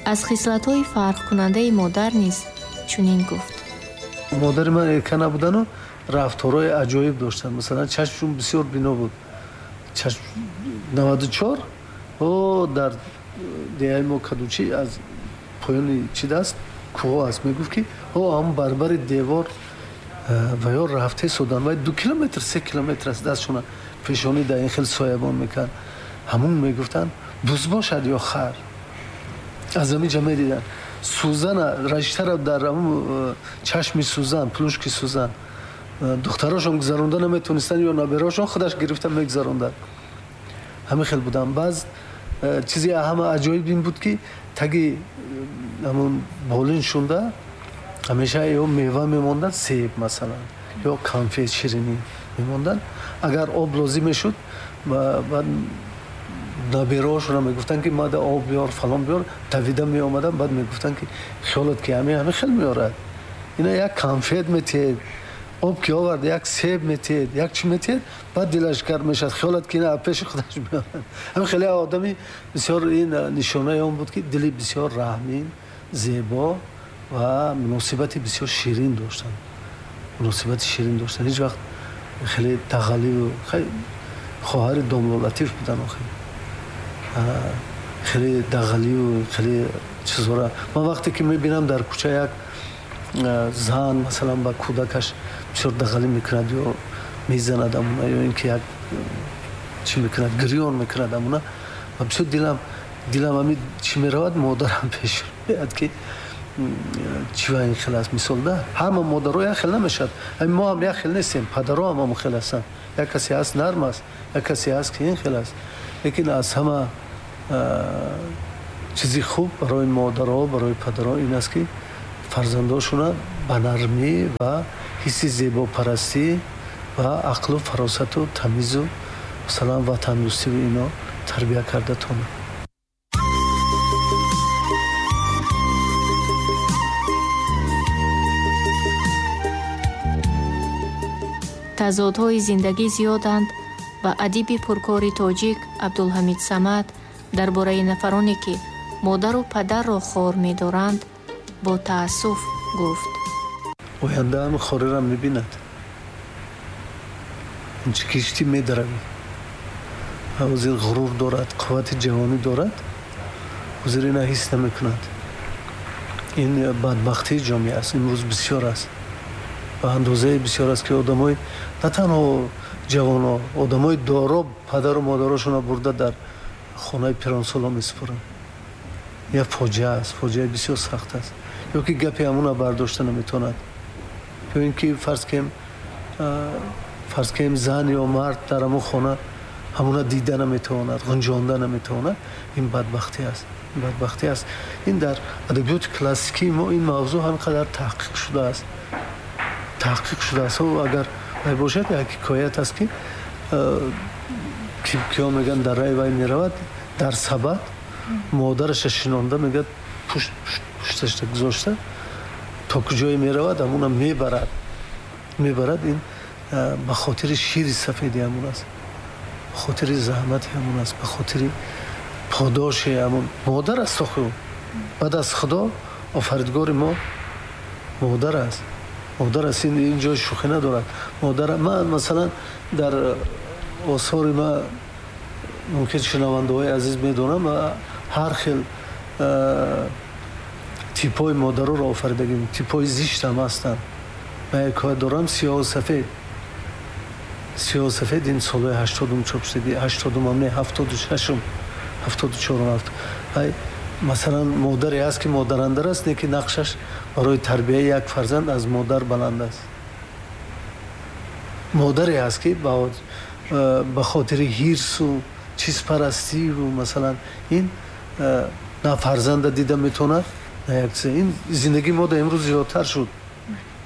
Аз хислатҳои фарқкунандаи модар низ чунин гуфт. Модари ман эрка набудану рафторҳои аҷоиб доштанд. Масалан, чашмшун бисёр бино буд. Чашм 94 о дар деҳаи мо Кадучи аз поёни чи даст кӯҳо аст. Мегуфт ки о ҳам барбари девор ва ё рафте содан вай 2 километр 3 километр аст, дастшона пешонӣ дар ин хел соябон мекард. Ҳамун мегуфтанд буз бошад ё хар. Аз ҳамин ҷа медиданд. Сӯзана раштара дар чашми сӯзан, плушки сӯзан духтарошон гузаронда наметонистанд ё набераошон худаш гирифта мегузаронданд. Ҳамин хел буданд. Баъз чизи ҳама аҷоиб ин буд ки таги ҳамун болин шунда ҳамеша ё мева мемонданд, себ масалан, ё конфет, ширинӣ мемонданд. Агар об лозим мешуд, баъд набераҳошона мегуфтанд ки мада об биёр, фалон биёр, давида меомаданд. Баъд мегуфтанд ки хиёлат ки ҳамин хел меорад, ина як конфет метиҳед, об ки овард як себ метиҳед, як чӣ метиҳед, баъд дилаш гарм мешавад, хиёлат ки ина пеши худаш меорад. Ҳамин хеле одами бисёр ин нишонаи он буд ки дили бисёр раҳмин, зебо ва муносибати бисёр ширин доштанд. Муносибати ширин доштанд. Ҳеҷ вақт хеле дағаливу хоҳари домло Латиф будан. Охир хеле дағаливу хеле чизҳоро ман вақте ки мебинам дар кӯча як зан масалан ба кӯдакаш бисёр дағалӣ мекунад ё мезанад амуна, ё ин ки як чӣ мекунад, гирён мекунад амуна, ва бисёр дилам ҳамин чӣ меравад, модарам пеш меояд ки чӣ ва ин хел аст. Мисол да ҳама модаро як хел намешавад. Ҳамин мо ҳам як хел нестем, падаро ҳам ҳамон хел ҳастанд. Як касе ҳаст нарм аст, як касе ҳаст ки ин хел аст. Лекин аз ҳама чизи хуб барои модаро, барои падаро ин аст ки фарзандошона ба нармӣ ва ҳисси зебопарастӣ ва ақлу фаросату тамизу масалан ватандӯстиву ино тарбия карда тонанд. Тазодҳои зиндагӣ зиёданд ва адиби пуркори тоҷик Абдулҳамид Самад дар бораи нафароне ки модару падарро хор медоранд бо таассуф гуфт: оянда ҳам хориро мебинад, инчи киштӣ медаравӣ, ҳозир ғурур дорад, қуввати ҷавонӣ дорад, ҳозир ина ҳис намекунад. Ин бадбахтии ҷомеа аст, имрӯз бисёр аст, ба андозаи бисёр аст ки одамои на танҳо ҷавоно, одамои доро падару модарошонро бурда дар хонаи пиронсоло месупоранд. Як фоҷиа аст, фоҷиаи бисёр сахт аст. Ё ки гапи ҳамона бардошта наметавонад, ё ин ки фарз кунем зан ё мард дар ҳамон хона ҳамона дида наметавонад, ғунҷонда наметавонад. Ин бадбахтӣ аст, ин бадбахтӣ аст. Ин дар адабиёти классикии мо ин мавзӯъ ҳам қадар таҳқиқ шудааст, таҳқиқ шудааст. Агар вай бошад, як ҳикоят аст ки киё мегӯянд дар рай вай меравад, дар сабад модараша шинонда мегӯяд, пушташта гузошта то куҷое меравад ҳамона мебарад, мебарад. Ин ба хотири шири сафеди ҳамон аст, ба хотири заҳмати ҳамон аст, ба хотири подоши ҳамон модар аст. Охир баъд аз Худо офаридгори мо модар аст, модар аст. Ин ҷой шӯхӣ надорад. Модар ман масалан дар осори ма мумкин шунавандаҳои азиз медонам, ҳар хел типҳои модароро офаридагим, типҳои зишт ҳам ҳастанд. Ман як ҳикоят дорам, сиёҳу сафед. Сиёҳу сафед ин солҳои 80-ум чоп шудаги, 80-ум ҳам не, 76-ум, 74-ум. Масалан модаре ҳаст ки модарандар аст, не ки нақшаш барои тарбияи як фарзанд аз модар баланд аст. Модаре ҳаст ки ба хотири ҳирсу чизпарастиву масалан ин на фарзанда дида метавонад, на як чиз. Ин зиндагии мо дар имрӯз зиёдтар шуд,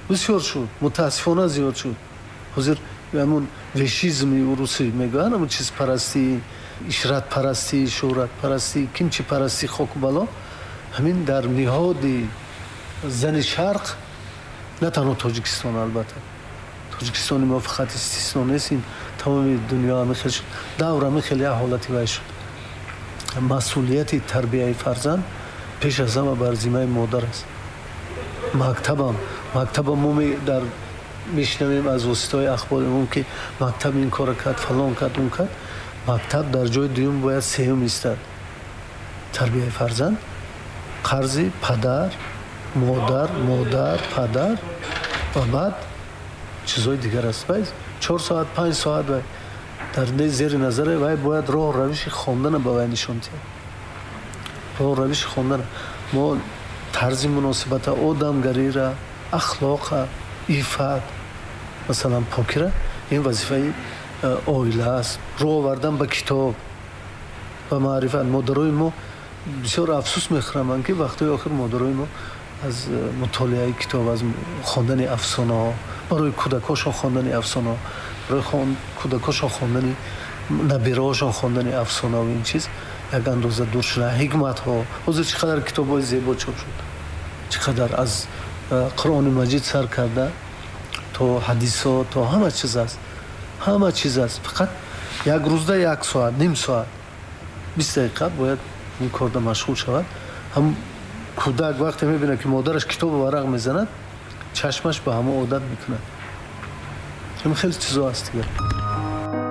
бисёр шуд, мутаассифона зиёд шуд. Ҳозир ҳамун вешизми урусӣ мегӯянд, ҳамун чизпарастӣ, ишратпарастӣ, шӯҳратпарастӣ, кимчипарастӣ, хоку бало, ҳамин дар ниҳоди зани шарқ, на танҳо Тоҷикистон, албатта Тоҷикистони мо фақат истисно нест, ин тамоми дунё ҳамин хел шуд, давр ҳамин хел як ҳолати вай шуд. Масъулияти тарбияи фарзанд Пеш аз ҳама бар зиммаи модар аст. Мактабам мо дар мешунавем аз воситаҳои ахбори умум, ки мактаб ин кора кард, фалон кард, он кард. Мактаб дар ҷои дуюм бояд сеюм истад. Тарбияи фарзанд қарзи падар, модар, модар, падар ва баъд чизҳои дигар аст. 4 соат, 5 соат вай дар зери назаре вай бояд роҳ равиши хондана ба вай нишон диҳад, роҳ равиши хондана, мо тарзи муносибата, одамгарира, ахлоқа, иффат, масалан, покира. Ин вазифаи оила аст. Рӯ овардан ба китоб, ба маърифат. Модарои мо, бисёр афсӯс мехӯрам, ки вақтҳои охир модарои мо аз мутолиаи китоб, аз хондани афсонаҳо барои кӯдакҳошон, хондани афсонаҳо барои кӯдакҳошон, хондани набираҳошон, хондани афсонаву ин чиз як андоза дур шуда. Ҳикматҳо, ҳозир чӣ қадар китобҳои зебо чоп шуд, чӣ қадар, аз Қуръони Маҷид сар карда то ҳадисҳо, то ҳама чиз аст, ҳама чиз аст. Фақат як рӯзда як соат, ним соат, 20 дақиқа бояд ин корда машғул шавад. Ҳам кӯдак вақте мебинад, ки модараш китобу варақ мезанад, чашмаш ба ҳамон одат мекунад. Ин хеле чизо аст дигар.